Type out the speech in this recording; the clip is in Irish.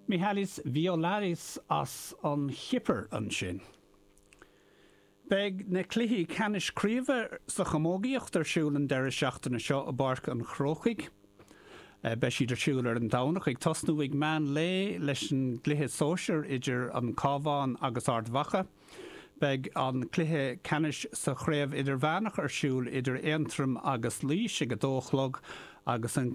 Mihalis Violaris as an Chipir ansin. Beidh na cluichí ceannais craoibhe sa chamógaíocht ar siúl an deireadh seachtaine seo i bPáirc an Chrócaigh. Beidh siad ar siúl ar an Domhnach ag tosnú ag meán lae leis an gcluiche sóisir idir an Cabhán agus Ard Mhacha. Beidh an cluiche ceannais sa chraobh idirmheánach ar siúl idir Aontroim agus Laois ag a dó a chlog agus an.